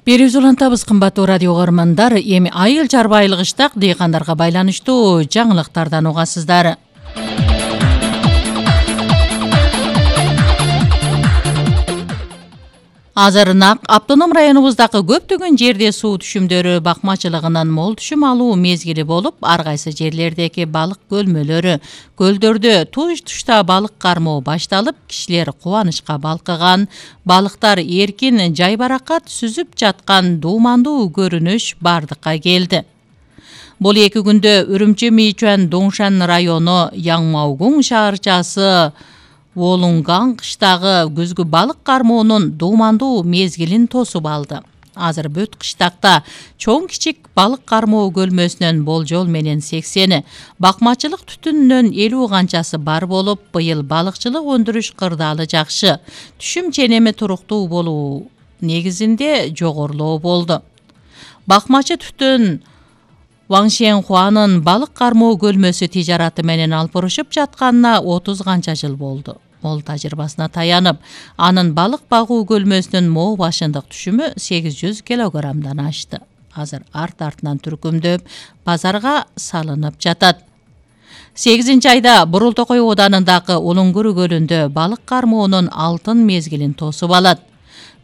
Берүүбүз улантабыз кымбаттуу радио угармандар. Эми айыл чарбайлык ыштак дыйкандарга байланыштуу жаңылыктардан угасыздар. Азыр Нак автоном районубуздагы көптөгөн жерде суу түшүмдөрү бакмачылыгынан мол түшүм алуу мезгили болуп, ар кайсы жерлердеги балык көлмөлөрү, көлдөрдө туш-тушта балык кармоо башталып, кишилер кубанычка балкыган, балыктар эркин жайбаракат сүзүп жаткан дуумандуу көрүнүш бардыкка келди. Бул 2 күндө Үрүмчү Мичуан Доңшан району Яңмаугуң шаарчасы Волунган кыштагы күзгү балык кармоонун дуумандуу мезгилин тосуп алды. Азыр бүт кыштакта чоң кичик балык кармоо көлмөсүнөн болжол менен 80, бакмачылык түтүнүнөн 50 канчасы бар болуп, быйыл балыкчылык өндүрүш кырдаалы жакшы, түшүм ченеми туруктуу болуу негизинде жогорулоо болду. Бакмачы түтүн Ваңшенхуанын балык кармоо көлмөсү тижараты менен алпурушуп жатканына 30 канча жыл болду. Ол тажрыйбасына таянып, анын балык багуу көлмөсүнүн моо башындык түшүмү 800 килограммдан ашты. Азыр арт-артынан түркүмдөп базарга салынып жатат. 8-айда Бурултокой оданындагы Улуңгүрү көлүндө балык кармоонун алтын мезгилин тосуп алат.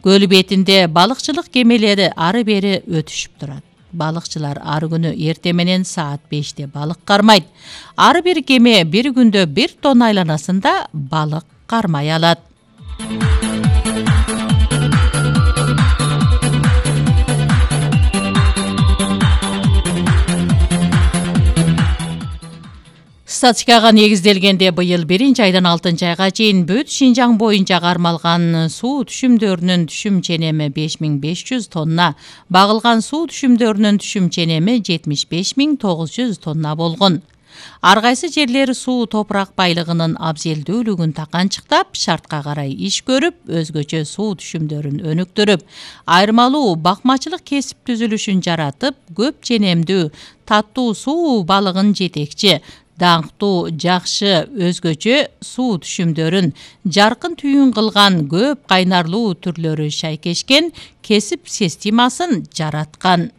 Көл бетинде балыкчылык кемелери ары бери өтүшүп турат. Балыкчылар ар күнү эрте менен саат 5-те балык кармайт. Ар бир кеме бир күндө 1 тонна айланасында балык кармай алат. Статистикага негизделгенде быйыл 1-айдан 6-айга чейин бүт Шинжаң боюнча кармалган суу түшүмдөрүнүн түшүм ченеми 5500 тонна, багылган суу түшүмдөрүнүн түшүм ченеми 75900 тонна болгон. Ар кайсы жерлер суу топурак байлыгынын абзелдүүлүгүн таканчыктап, шартка карай иш көрүп, өзгөчө суу түшүмдөрүн өнүктүрүп, айырмалуу бакмачылык кесип түзүлүшүн жаратып, көп ченемдүү таттуу суу балыгын жетекчи, даңктуу, жакшы, өзгөчө суу түшүмдөрүн жаркын түйүн кылган көп кайнарлуу түрлөрү шайкешкен кесип системасын жараткан.